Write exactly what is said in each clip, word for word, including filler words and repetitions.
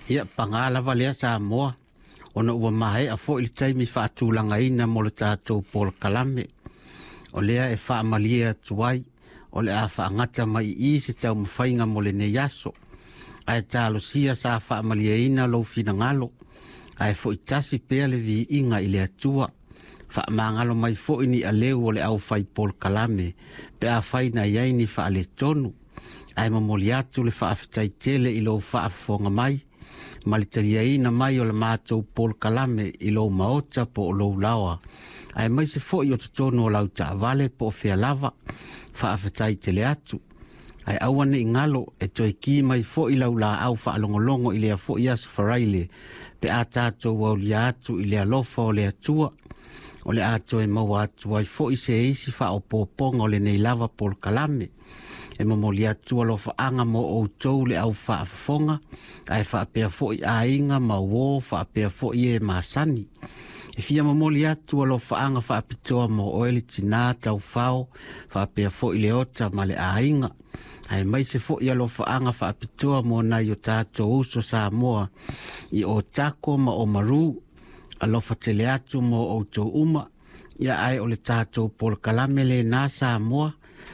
Ia paga lava lea Samoa, ona ua maea foi le taimi faatulagaina mo le tatou polokalame. O lea e faamalie atu ai, o le a faagata mai i i se taumafaiga mo lenei aso. Ae talosia sa faamalieina lou finagalo, ae foi tasi pea le viiga i le Atua. Faamagalo mai foi ni aleu o le aufai polokalame pe afai na i ai ni faaletonu. Ae momoli atu le faafetai tele i lou faafofoga mai ma le taliaina mai o le matou polokalame i lou maota po o lou laoa, aemaise foi o totonu o lau taavale po o fea lava. Faafetai tele atu. Ae aua ne i galo e toe ki mai foi lau laau faalogologo i lea foi aso Faraile pe a tatou aulia atu i le alofa o le Atua. O le a toe maua atu ai foi se isi faaopoopoga o lenei lava polokalame. E momoli atu alofaaga mo outou le au faafofoga, ae faapea foi aiga ma uo, faapea foi e masani. E fia momoli atu alofaaga faapitoa mo oe le tinā taufao, faapea foi le ota ma le aiga. Aemaise foi alofaaga faapitoa mo nai o tatou uso Samoa i Otako ma Oamaru. Alofa tele atu mo outou uma. Ia ae o le tatou polokalame lenā Samoa,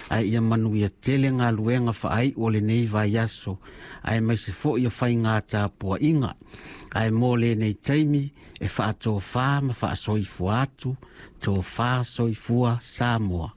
ae ia manuia tele galuega faaiu o lenei vaiaso, aemaise foi o faiga tapuaiga. Ae mo lenei taimi e faatofā ma faasoifua atu, tofa soifua Samoa.